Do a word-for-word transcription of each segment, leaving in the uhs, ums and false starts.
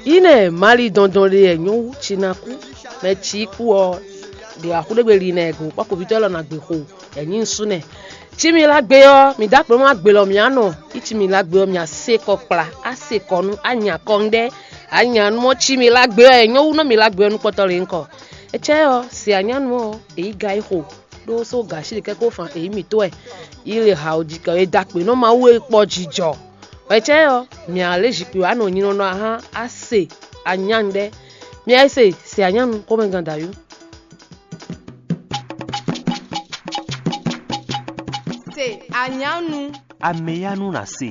Ine mali dɔndɔn ɖe yɛ nyɔwu ci na kú, mɛ ci kú ɔ, ɖe axu ɖe gbe li nɛ go kpɔkɔvitɔ lɔ na gbe xo, yɛ nyi nsu nɛ. Ci mi la gbe ɔ, mi da kplɔ ma gbe lɔ mi anɔ. Yi ci mi la gbe ɔ, mi ase kɔ kpla, ase kɔ nu, anya kɔ ŋɖɛ, anya nu ɔ, ci mi la gbe ɔ, yɛ nyɔwu nɔ mi la gbe ɔ nu kpɔtɔ le nkɔ. Etsɛ ɔ, si anyanu ɔ, eyi ga yi xo, ɖó só gashi ɖe kɛkó fan eyi mi to wɛ. Yi le ha o ji kɛ e da kpe nɔ ma wu e kpɔ jijɔ. Etsɛ ɔ, mi a le zikpui wa nɔ nyinɔ nɔ ahan a se anyan ɖɛ. Mi a se se anyanu xomɛgan da yo. Se anyanu. Ameyanu na se.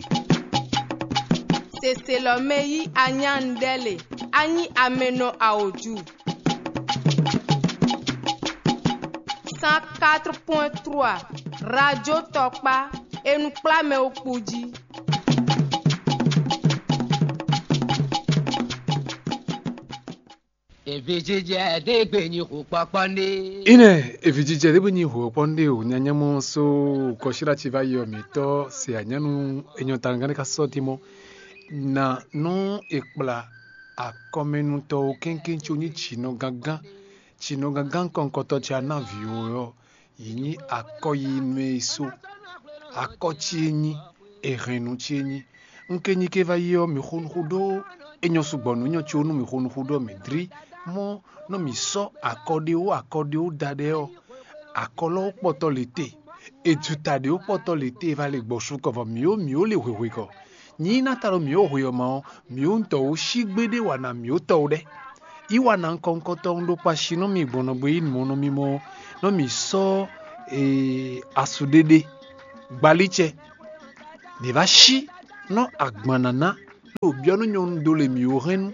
Seselɔ mɛ yí anyanu ɖɛ le. Anyi amenɔ aoju. Cent quatre point trois, Radio Tɔkpa, e nɔ kplá mɛ wo kpo jí. Evi jijɛ ɖé gbe nyi xo kpɔkpɔ ní. Ine evi jijɛ ɖé gbe nyi xo kpɔkpɔ ní o, nyanya mɔ so kɔsíɖa ci va yi ɔ mǐtɔ́ se anyanu enyɔ tangán ɖé ka sɔ́ timɔ. Na nɔ e kpla akɔmɛnutɔ o kɛnkɛn tso nyi tsinɔ gángan, tsinɔ gángan kɔnkɔtɔ ce a ná vǐ o ɔ́, yi nyí akɔ yi nú e so. Akɔ ce e nyí, e hɛn nú ce e nyí. Un ke nyi ke va yi ɔ́, mǐ xo nukún ɖó e nyɔ sugbɔ nǔ nyɔ ce ó nú mǐ xo nukún ɖó mǐ dlí mɔ nɔ mǐ sɔ́ akɔ ɖé ó akɔ ɖé ó da ɖɛ ɔ́, akɔ lɔ ó kpɔtɔ lě te. E ju ta ɖě ó kpɔtɔ lě te e va le gbɔ su kɔ vɔ mǐ ó mǐ ó le hwehwe kɔ. Nyi ná ta ɖo mǐ ó hwe ɔ́ ma ɔ́, mǐ ó ŋutɔ ó sí gbéɖé wa ná mǐ ó tɔ ó ɖɛ. Yi wa ná ŋkɔŋkɔtɔn ɖó kpashi nú mì gbɔn nɔgbé yi mɔ nú mì mɔ nɔ mǐ sɔ́ ee, asu ɖéɖé gbalícɛ. Mǐ va sí nɔ agban nǎná, ló byɔ́ nú nyɔnu dó le mǐ ó hɛn nú,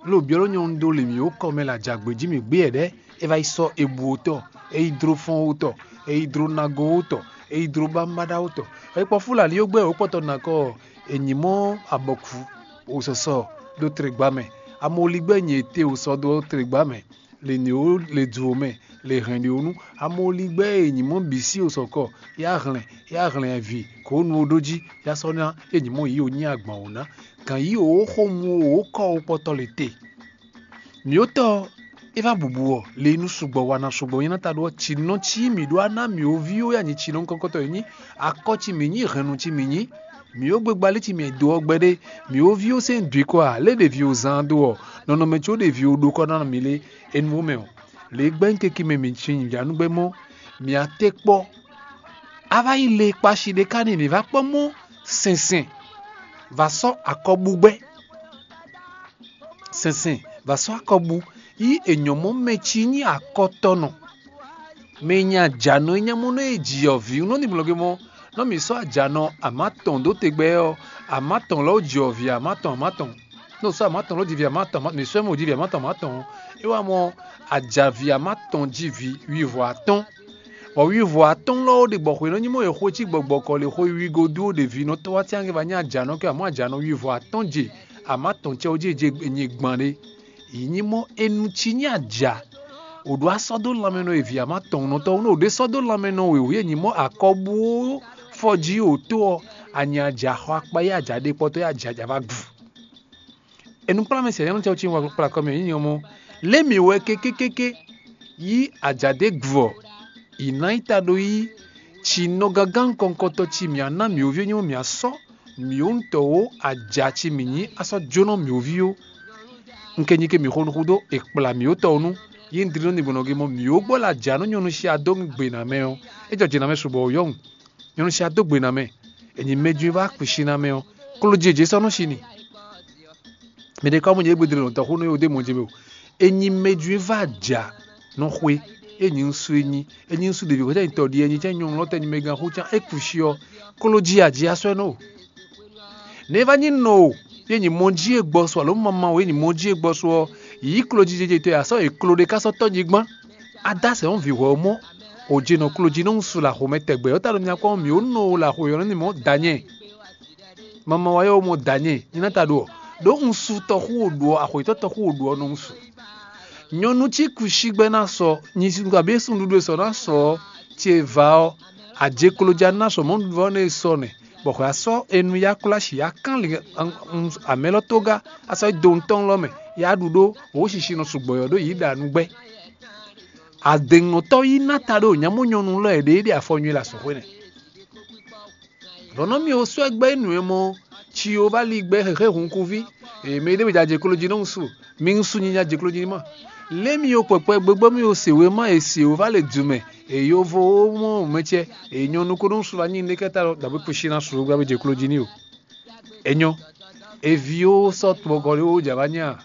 ló byɔ́ nú nyɔnu dó le mǐ ó kɔ mɛ lɛ ajǎgbé jí mǐ gbé yɛ̌ɖɛ́. É va yi sɔ́ ebu ó tɔ, é yi dló fɔ́n ó tɔ, é yi dló nago ó tɔ, é yi dló bámbáɖá ó tɔ. É kpɔ́ fúlalí ó gbɛ́ ó kpɔtɔ nakɔ è nyǐ mɔ abɔkǔ o sɔsɔ ɖó tlegbá mɛ. Amoligbɛ́ nyɛ te o sɔ dó tlegbá mɛ, le nǐ ó le du ó mɛ, le hɛn ɖě ó nú. Amoligbɛ́ e nyǐ mɔ bǐ sí o sɔkɔ, yá hlɛn, yá hlɛn vǐ kó nu ó ɖó jí, yá sɔ́ ná é nyǐ mɔ yǐ ó nyí agban ó ná. Gǎn yí ó xó mu ó kɔ ó kpɔtɔ le te. Mǐ ó tɔ é va bubu ɔ, le nú sugbɔ wa ná sugbɔ nyí ná ta ɖó ɔ́, cǐ nɔ cí mǐ ɖó aná mǐ ó ví ó ya nyǐ cǐ nɔ kɔkɔtɔ e nyí akɔ ci mǐ nyí hɛnnu ci mǐ nyí. Mǐ ó gbegba lé ci mǐ dó ɔ́ gbɛɖé, mǐ ó ví ó sɛ́n dwi kɔ ǎ, lě ɖevi ó zán dó ɔ́, nɔnɔmɛ có ɖevi ó ɖó kɔ ná mǐ lé é nú ó mɛ ɔ́. Lě e gbɛ́ nyí keke mɛ mǐ sin nǔjánúgbɛ́ mɔ́, mǐ a te kpɔ́. A va yi le kpashi ɖé ka n'i mǐ va kpɔ́ mɔ́ sɛnsɛn, va sɔ́ akɔbúgbɛ́. Sɛnsɛn, va sɔ́ akɔbú, yí è nyɔ̌ mɔ mɛ ci nyí akɔtɔnɔ. Mɛ e nyi ajǎnɔ e nyɛ mɔ nɔ e ji ɔ̌ vǐ nɔ ni mlɔgé mɔ, nɔ mǐ sɔ́ ajǎnɔ amǎ tɔn dó tegbɛ ɔ́, amǎ tɔn lɔ ji ɔ̌ vǐ amǎ tɔn amǎ tɔn. Nɔ sɔ́ amǎ tɔn lɔ ji vǐ amǎ tɔn, mǐ sɔ́ mɔ ji vǐ amǎ tɔn amǎ tɔn. É wá mɔ ajǎví amǎ tɔn ji vǐ wivɔ atɔ́n. Bɔ wivɔ atɔ́n lɔ ɖe gbɔ xwe nɔ nyi mɔ e xwe cí gbɔgbɔ kɔ le xwe wigo dó ɖe vǐ nɔ tɔ́ wá tɛ́nke va nyí ajǎnɔ kɛ amɔ̌ ajǎnɔ wivɔ atɔ́n je amǎ tɔn cɛ jí e je nyi gban ɖé. Yi nyí mɔ enu cí nyí aja. Wǒ ɖó asɔ́ dó lanmɛ nɔ e vǐ amá tɔn nɔ tɔn nɔ wǒ ɖé sɔ́ dó lanmɛ nɔ wěwé e nyí mɔ akɔbú fɔ jí wǒ tó ɔ́, anyi aja xɔ akpa yi aja ɖé kpɔtɔ yi aja ja va gu. Enukplɔ́nmɛ sɛ̌nyɔ́nú cɛ́ cí wá kplá kɔ́ mɛ nyí nyɔ́ mɔ. Lě mǐ wɛ kékékéké yí aja ɖě gu ɔ́, yi ná yi ta ɖó yí ci nɔ gángan kɔnkɔtɔ ci mǐ á ná mǐ ó ví nyɔ́ mǐ á sɔ́ mǐ ó ŋutɔ́ ó aja ci mǐ nyí á sɔ́ jónɔ mǐ ó ví ó. Un ke nyi ke mǐ xo nukún dó è kplá mǐ ó tɔ ɔ́ nú yí un dlí nú nǐgbɔnɔ gé mɔ mǐ ó gbɔ lɛ aja nú nyɔ̌nu sia dó gbe ná mɛ ɔ́, é jɔ jǐ ná mɛ sugbɔ ó yɔ́hun. Nyɔ̌nu sia dó gbe ná mɛ, è nyi mɛjwín vá kpǐ ná mɛ ɔ́, kló jí è jě sɔ́ nɔ shi n'i. Mɛ ɖé ka mɔ nyɛ égbé dlé nɔ tɔxú nú é wodé mɔ jɛ mɛ o. È nyi mɛjwín vá aja nɔ xwe, é nyi ŋsu é nyi, é nyi ŋsu ɖěvi xwetɛ́ nyi tɔɖi é nyi cɛ́ nyɔ̌nu lɔ tɛ́ nyi mɛ gán xú cán é kpu shi ɔ́, kló jí a jí a sɔ́ ɛ nɔ o. Nɛ̌ é vá nyí nɔ o, yě nyi mɔ jí e gbɔ sɔ alo mama o, yě nyi mɔ jí e gbɔ sɔ ɔ́, yǐ kló jí jɛjɛ tɔn e asɔ́ è klo ɖé ká sɔ́ tɔ́ nyi gbán. Adásɛ ɔ́ vǐ hwɛ ɔ́ mɔ, o jí nɔ kló jí nɔ ŋsu lɛ axomɛ tɛgbɛ ɔ́ ta ɖo mì akɔ mǐ ó nɔ o lɛ axo yɔ̌ ní mɔ danyɛ. Mama wa yɔ mɔ danyɛ, nyí ná ta ɖo ɔ, ɖó ŋsu tɔxú o ɖu ɔ, axwetɔ tɔxú o ɖu ɔ nɔ ŋsu. Nyɔnu cí kusigbɛ ná sɔ, nyi sundu abě sunɖuɖu e sɔ ná sɔ ɔ́, ce va ɔ́, ajekloja ná sɔ mɔ̌ nuvɔ nɛ sɔ nɛ. bɔ xwɛ asɔ enu ya kplá shi ya kán lin amɛ lɔ tógá asɔ do ŋutɔn lɔ mɛ ya ɖu ɖó wǒ shishi nɔ sugbɔ yɔ ɖó yǐ ɖa nugbɛ. Adɛnnɔtɔ yi ná ta ɖo nyamɔ nyɔnu lɔ e ɖe ɖe afɔ nyi la sɔxwe nɛ. Vɔ̌ nɔ mì oswɛ́ gbɛ́ nǔ e mɔ Jehová lí gbɛ́ xexé hunkuví, e mɛ ɖěbǔ ja jɛ klo jí nɔ su, mi un su nyinya jɛ klo jí n'i ma. Lě mi o kpɛkpɛ gbegbɔ mi o se wěma e Jehová le dǔ mɛ, e yovo ó mɔ mɛcɛ, e nyɔnu ko nɔ su wá nyi ndékɛ́ta lɔ dǎbí kúsi ná su gbá bó jɛ klo jí n'i o. É nyɔ́, eví ó sɔ́ tɔgɔ́ ɖé ó jǎ vá nyɛ a?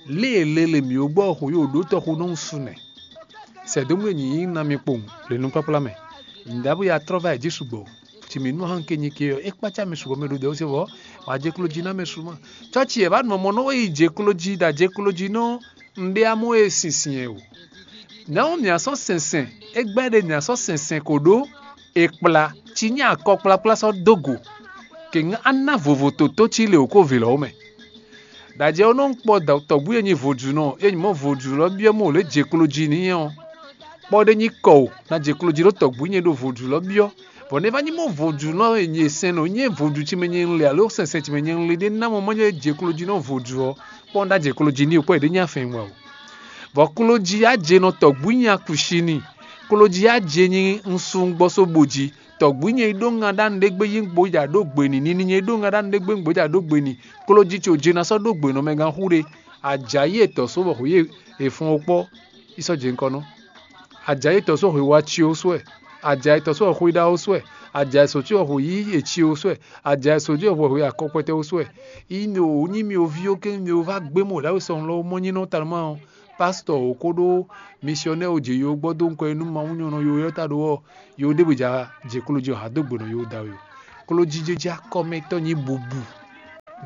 Lě e lele mǐ ó gbɔ xo yi o ɖó tɔxu nɔ su nɛ. Sɛdómu e nyǐ na mi kpowun le nukpákplá mɛ. Nyǐɖábú ya trɔ́ vá yi jí sugbɔ. Ci mǐ nú ahan ke nyi ke ɔ́, é kpácá mi sugbɔ mɛ ɖo dɛ̌ se vɔ́, wǎ jɛ klo jí ná mɛ su ma. Cɔ́ci yě vá nɔ mɔ nɔ yi jɛ klo jí ɖo ajɛ klo jí nɔ un ɖe amɔ e sinsin ɛ o. Nɛ̌ mǐ sɔ́ sɛnsɛn, é gbɛ́ ɖe mǐ sɔ́ sɛnsɛn ko ɖó è kplá cí nyí akɔkplakplá sɔ́ dó go, kě ŋá ná vovo tǒtó cí lě wǒ ko vǐ lɔ́ mɛ. Ɖajɛ ɔ́ nɔ kpɔ tɔ̌gbú e nyi vodúnɔ, é nyí mɔ vodún lɔ byɔ́ mɔ lě jɛ klo jí n'i ɔ́, kpɔ ɖé nyí kɔ o, ná jɛ klo jí ɖó tɔ̌gbú nyɛ ɖo vodún lɔ byɔ́, bɔ nɛ́ vá nyí mɔ vodúnɔ e nyi sɛn nɔ nyɛ vodún ci mɛ nyɛ un le alo sɛnsɛn ci mɛ nyɛ un le ɖé ná mɔ mɔ nyɛ jɛ klo jí nɔ vodún ɔ́, kpɔ ná jɛ klo jí n'i o, kpɔ è ɖě nyí afɛn wa o. Vɔ klo jí á je nɔ tɔ̌gbú nyi akǔ shi n'i, klo jí á je nyi un sun gbɔ só bo jí, tɔ̌gbú nyɛ yi ɖó ŋa ɖ'anu ɖé gbé yí gbǒ ja ɖó gbě n'i, nini nyɛ yi ɖó ŋa ɖ'anu ɖé gbé gbǒ ja ɖó gbě n'i, klo jí ce ò je ná sɔ́ ɖó gbě nɔ mɛ gán xú ɖé. Ajǎyi e tɔ̌ só bɔ hǔ yi è fɔn ó kpɔ́, yi sɔ́ jɛ nukɔn nɔ. Ajǎyi e tɔ̌ só hwe wa ci ó sú wɛ, ajǎyi tɔ̌ só hwe xwíɖá ó sú wɛ, ajǎyi sǒ ci hwe yí è ci ó sú wɛ, ajǎyi sǒ ci hwe hwe akɔkpɛtɛ ó sú wɛ. Yi nɔ wǒ nyí mi oví ó kɛ́n mi ó vá gbé mɔ ɖǎwe sɔ́ lɔ mɔ nyí nɔ tanumá ɔ́, pásítɔ ò kóɖó misyɔnɛ́ ò jě yo gbɔ dó nukɔn e nú Mawu nyɔ́ nɔ yo ɔ́ ta ɖó ɔ́, yo ɖěbǔ ja jɛ klo jí ɔ́ ha dó gbe nɔ yo da we o. Klojíjéjí akɔmɛtɔ́ nyí bubu,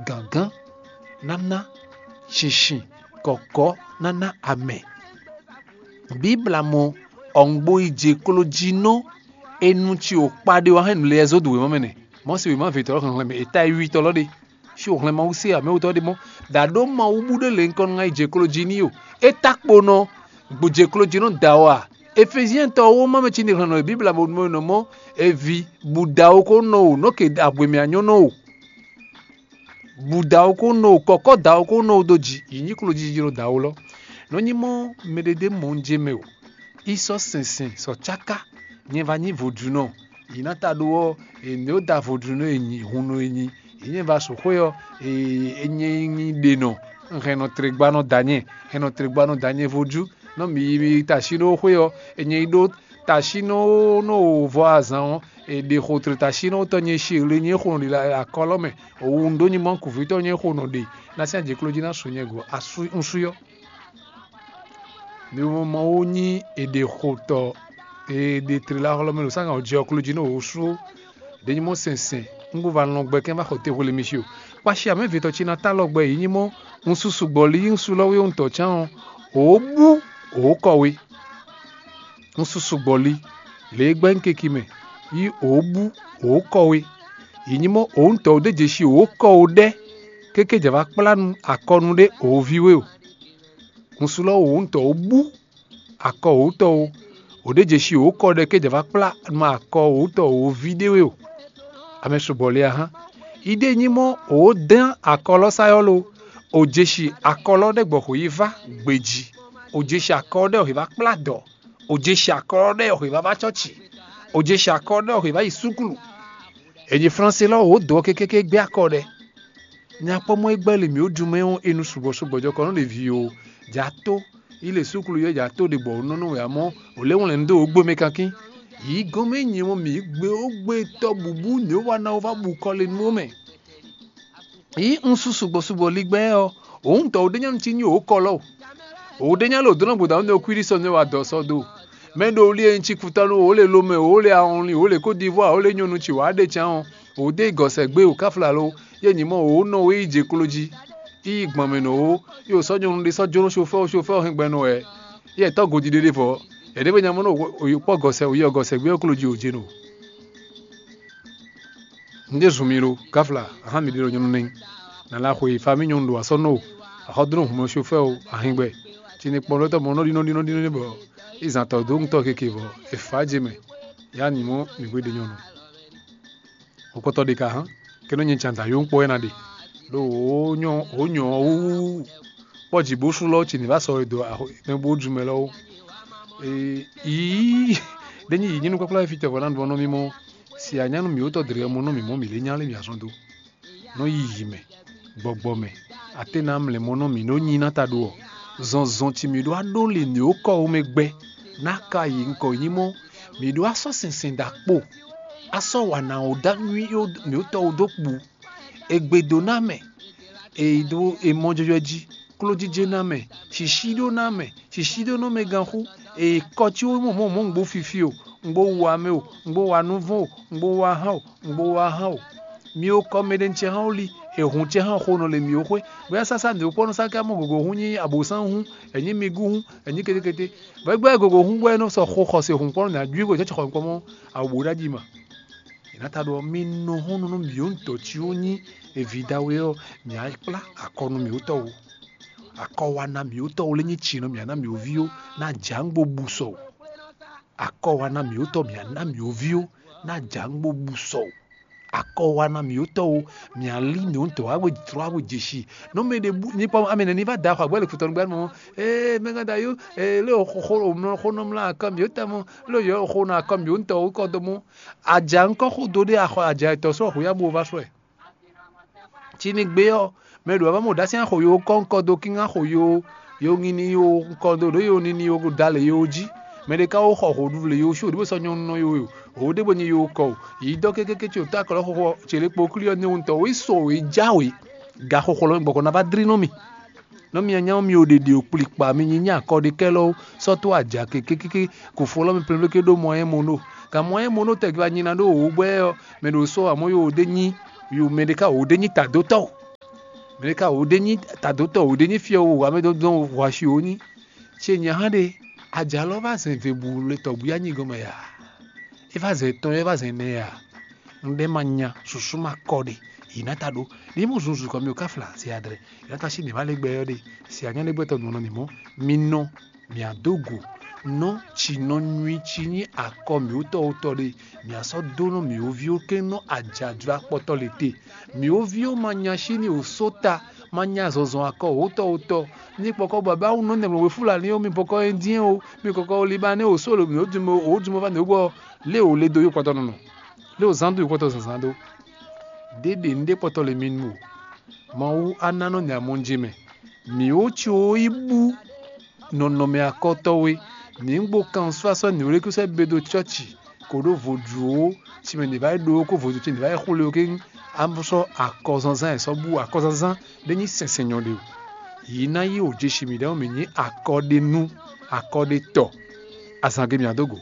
gǎngán, náná, shinsin, kɔ̌kɔ́, náná amɛ. Bíbla mɔ ɔ̀ŋgbo yi jɛ klo jí nɔ e nu ci ò kpa ɖé wá hɛn nǔ lɛ́ɛ zó dó wěma mɛ nɛ. Mɔ̌si wěma větɔ́ hlɛnhlɛn mɛ, è ta e wiwitɔ́ lɔ ɖe. Xi o hlɛn Mawu se ǎ, mɛ wutɔ́ ɖé mɔ́. Ɖa ɖó Mawu bú ɖé lě nukɔn nɔ ŋa yi jɛ klo jí n'i o. É ta kpo nɔ gbǒ jɛ klo jí nɔ da wɔ a? Efezyɛn tɔ ɔ́ wó má mɛ cí ní hlɛn nɔ e Bíbla bo nɔ mɔ eví bǔ da wó kó nɔ o, nɔ́ ke abwemɛ anyɔ́ nɔ o. Bǔ da wó kó nɔ o, kɔ̌kɔ́ da wó kó nɔ o dó jǐ, yi nyí klo jí jí nɔ da wó lɔ. Nɔ nyí mɔ mɛɖeɖe mɔ un jɛ mɛ o. Í sɔ́ sɛnsɛn sɔ cáká, nyɛ va nyí vodúnɔ. Yi ná ta ɖó ɔ́, è nǐ ó da vodúnɔ e nyi hun nɔ e nyi. Yi nyɛ va su xwé ɔ́, è nyɛ nyi ɖe nɔ, hɛn nɔ tlé gba nɔ da nyɛ, hɛn nɔ tlé gba nɔ da nyɛ vodú. Nɔ mi yi mi ta sí ɖó xwé ɔ́, è nyɛ yi ɖó ta sí nɔ nɔ vɔ azǎn ɔ́, è ɖe xo tlé ta sí nɔ tɔ nyɛ sí le nyɛ xo nɔ ɖe akɔlɔ mɛ. Òwu un ɖó nyi mɔ kuvítɔ nyɛ xo nɔ ɖe, ná sín ajě kló jí ná su nyɛ go asú un sú yɔ. Mi mɔ Mawu nyí èɖěxotɔ e ɖe tlila xlɔ́ mɛ ɖo sángan ɔ́ jí ɔ́ kló jí nú wǒ sú ɖě nyí mɔ sɛnsɛn, un kún va lɔn gbɛ kɛ́n va xɔ te hwelé mi xi o. Kpashi amɛ̌vitɔ ce ná tá lɔ gbɛ yě nyí mɔ un susu gbɔ̌ lí un sú lɔ wé un tɔ̌ cán ɔ́, wǒ bú wǒ kɔ we. Un susu gbɔ̌ lí lě e gbɛ́ un keki mɛ yí wǒ bú wǒ kɔ we. Yě nyí mɔ wǒ un tɔ̌ wǒ ɖé jeshi wǒ kɔ wǒ ɖɛ́ kéké jǎ va kplá akɔnu ɖé wǒ ví we o. Un sú lɔ wǒ un tɔ̌ wǒ bú akɔ wǒtɔ o, wǒ ɖé jeshi wǒ kɔ ɖɛ ké jǎ va kplá nɔ akɔ wǒtɔ wǒ ví ɖé we o. Amɛ sugbɔ le a hán. Iɖée nyí mɔ wǒ dán akɔ lɔ sá yɔ́ lo, wǒ jeshi akɔ lɔ ɖɛ́ gbɔ xwě yi vá gbejí, wǒ jeshi akɔ ɖɛ́ wǒ yi vá kplá dɔ̌, wǒ jeshi akɔ lɔ ɖɛ́ wǒ yi vá vá cɔ́ci, wǒ jeshi akɔ ɖɛ́ wǒ yi vá yi súklu. È nyi Flánse lɔ wǒ dǒ ɔ́ kékéké gbé akɔ ɖɛ. Nya kpɔ́ mɔ é gbɛ́ lě mǐ ó dun mɛ ɔ́, è nɔ sugbɔ sugbɔ jɔ kɔ nú ɖevi o, jǎ tó, yi le súklu yɔ jǎ tó ɖe bɔ nɔ nɔ wɛ amɔ̌, wǒ lɛ́ wlɛ̌n dó wǒ gbe mɛ kankín. Yǐ gɔ́n mɛ nyɛ mɔ mǐ gbé ó gbé tɔ́ bǔbú nǔ e wa ná wó vá bu kɔ le nú ó mɛ. Yǐ un sú sugbɔ sugbɔ ligbɛ́ ɔ́, òun tɔ wǒ ɖé nyɔ́nu cí nyi wǒ kɔ lɔ o. Wǒ ɖé nyá lě wǒ dó nɔ gbɔdɔ nú nɛ́ kwíɖí sɔ nɛ́ wa dɔ sɔ do. Mɛ ɖo wlí e nyi ci kutɔnu, wǒ le lomɛ, wǒ le awɔnlin, wǒ le kódivwá, wǒ le nyɔnu ci wǎ ɖe can ɔ́, wǒ dó yi gɔ̌sɛgbé wǒ káfla lo, yě nyi mɔ wǒ nɔ wé yi jɛ klo jí. Yi yi gbɔn mɛ nɔ wǒ, yi wǒ sɔ́ nyɔnu ɖé sɔ́ jónú xofɛ́ xofɛ́ ɔ́ hɛn gbɛ nɔ wɛ. Yɛ tɔ́ godi ɖé ɖé vɔ, yɛ ɖě be nya mɔ nɔ wǒ kpɔ́ gɔ̌sɛ wǒ yi ɔ́ gɔ̌sɛgbé ɔ́ klo jí wǒ jɛ nɔ. Un ɖe zun mi lo, gáfla, ahan mi ɖe ɖo nyɔnu nɛ́. Nǎ la xwe yi fa mì nyɔnu ɖo asɔ́ nɔ o, axɔ́dúnɔ hun mɛ xofɛ́ o, ahingbɛ. Cine kpɔ́n ɖɔ tɔ́ mɔ nɔ́ ɖi nɔ́ ɖi nɔ́ ɖi nɔ́ ɖi bɔ, yi zan tɔ́ dó ŋutɔ́ keke vɔ, è fǎ je mɛ. Yá nyǐ mɔ mǐ hwe ɖe nyɔnu. Xokpɔ́tɔ́ ɖé ka hán, kɛ nɔ nyɛ can da yó kpɔ́ wɛ ná ɖe. Ɖo wǒ nyɔ wǒ nyɔ wú kpɔ́ jǐ bó sú lɔ́ ce ní vá sɔ e dó mɛ bó ju mɛ lɔ́wọ́. Yǐ ɖé nyí yǐ nyí nukúnkplá fí tɛvɔ ná ɖu ɔ́ nɔ mì mɔ si anyánu mǐ wótɔ dlɛ́ mɔ nɔ mǐ mɔ mǐ lé nya lé mǐ azɔn dó. Nɔ yi yǐ mɛ, gbɔgbɔ mɛ, aténá mlɛmɔnɔ mǐ nɔ nyi ná ta ɖo ɔ́, zɔnzɔn ci mǐ ɖó aɖó lě nǔ e kɔ wú mɛ gbɛ ná ka yi nukɔ nyí mɔ, mǐ ɖó asɔ́ sinsɛn ɖo akpo, asɔ́ wa ná wǒ dó anywi mǐ wótɔ wú dó kpu. È gbe dó ná mɛ, è ɖó è mɔ jɔjɔ jí, klójíjé ná mɛ, shǐshí ɖó ná mɛ, shǐshí ɖó nɔ mɛ ganxú, è kɔ cí wú mɔ mɔ mɔ un gbó fifi o, un gbó wa mɛ o, un gbó wa nuvɔn o, un gbó wa hán o, un gbó wa hán o. Mi o kɔ mɛ ɖé nú cɛ hán wú li, è hun cɛ hán xo nɔ le mǐ ó xwé. Bóyá sásá mǐ ó kpɔ́n nɔ sá ká mɔ gǒgǒ hún nyí abǒsán hún, è nyí migú hún, è nyí kétékété. Bɔ é gbɛ́ gǒgǒ hún bɔ é nɔ sɔ xo xɔse hun kpɔ́n nɔ ná jú gbe cɔ́ xɔ kpɔ́n mɔ awǒ ɖ'ají ma. È nǎ ta ɖɔ mi nɔ hɔn nú mǐ ó ntɔ́ cí ó nyí eví ɖawe ɔ́, mǐ á kplá akɔ nú mǐ ó tɔ́ ó. Akɔ wa ná mǐ ó tɔ́ ó lé nyí cinɔ mǐ á ná mǐ ó ví ó, ná jǎ ŋgbo bu sɔ o. Akɔ wa ná mǐ ó tɔ́ mǐ á ná mǐ ó ví ó, ná jǎ ŋgbo bu sɔ o. Akɔ wa ná mǐ ó tɔ́ ó, mǐ á lí mǐ ó ntɔ́ wá we jlɔ́ wá we jeshi. Nú mɛ ɖé bú ní kpɔ́n amɛ nɛ́ ní vá da xɔ agbɛ́ le kutɔnu gbɛ́ mɔ. Ee mɛ gán da yó, ee lé o xo xo o mlɔ xó nɔ mlá akɔ mǐ ó tɛmɔ, lé o yɔ xo nɔ akɔ mǐ ó ntɔ́ ó kɔ dó mɔ. Aja ŋkɔ xo do ɖé axɔ aja etɔ́ sɔ́ xo ya bó va sɔ́ ɛ. Ci ní gbé ɔ́, mɛ ɖo ava mɔ ɖásí axo yo kɔ́ ŋkɔ dó kín axo yo yo ŋini yo ŋkɔ dó ɖó yo nini yo dalɛ yo jí. Mɛ ɖé ka wó xɔ hǒɖuɖu lě yo sú ɖěbǔ sɔ́ nyɔ́nú nɔ yo yo hǒ ɖěbǔ nyi yo kɔ o. Yǐ dɔ́ kékéké ce wǒ tó akɔ lɔ xɔxɔ ce lě kpo klí ɔ́ ní wúntɔ wǒ yi so wǒ yi jáwě. Ga xɔxɔ lɔ gbɔkɔ ná vá dlí nú mì. Nɔ mia nyá mi o ɖeɖe o kplikpa mi nyi nyí akɔɖekɛ́lɔ́ sɔ́ tó aja kékékéké kofo lɔ mi plɛ́nplɛ́n ké ɖó mɔ ɛ mono. Gǎn mɔ ɛ mono tɛgbɛ anyi ná ɖó wǒ gbɛ́ ɔ́, mɛ ɖo sɔ́ amɔ̌ yo wǒ ɖé nyí yo mɛ ɖé ká wǒ ɖé nyí tadótɔ́ o. Mɛ ɖé ká wǒ ɖé nyí tadótɔ́ wǒ ɖé nyí fiɔ wo wǎ mɛ dɔn dɔn wǎ xwi wǒ nyí. Ce nyɛ hán ɖe, aja lɔ vá zɛn vebu le tɔgbí anyi gɔmɛ ya. É vá zɛn tɔn é vá zɛn nɛ ya. Un ɖɛ ma nya susu ma kɔ ɖe. Yi ná ta ɖó. Ní mú zunzun kɔ mi ò ká fla se adrɛ. Yi ná ta sí mǐ má lé gbɛ ɔ́ ɖe. Se anyá lé gbɛtɔ nǔ ɔ́ nɔ mǐ mɔ. Mi nɔ mǐ á dó go. Nɔ ci nɔ nyui ci nyí akɔ mǐ wótɔ́ wótɔ́ ɖe. Mǐ á sɔ́ dó nɔ mǐ wóví ó ké nɔ ajǎjlá kpɔtɔ́ le te. Mǐ wóví ó ma nya sí ní wǒ só ta, ma nya zɔnzɔn akɔ wǒtɔ́ wǒtɔ́. Ní kpɔkɔ bɔ bá wú nɔ nɛmlɔ we Fulani ó, mi bɔkɔ Indien ó, mi kɔkɔ Libanɛ ó, só lo mǐ ó dun mɔ ó dun mɔ va nǔ gbɔ lé wǒ le dó yó kpɔtɔ́ nɔnɔ. Lé wǒ zán dó yó kpɔtɔ́ zǎnzǎn dó. Ɖěɖě ní ɖé kpɔtɔ́ le mi nu o. Mawu á ná nɔ nya mɔ ce mɛ. Mǐ ó ci ó yi bú nɔnɔmɛ akɔtɔ́ we. Mǐ gbo kan sɔ́ asɔ́ nǐwlékúsɛ be dó cɔ́ci kó ɖó vodúnó, ci mɛ nǐ vá yi ɖó kó vodún ce nǐ vá yi xwlé ó kéŋ. Á sɔ́ akɔzánzán e sɔ́ bú akɔzánzán ɖé nyí sɛnsɛn nyɔ ɖe o. Yǐ ná yí wǒ jeshi mǐ ɖɛ́ mǐ nyí akɔ ɖé nú akɔ ɖé tɔ. Azǎn ge mǐ á dó go.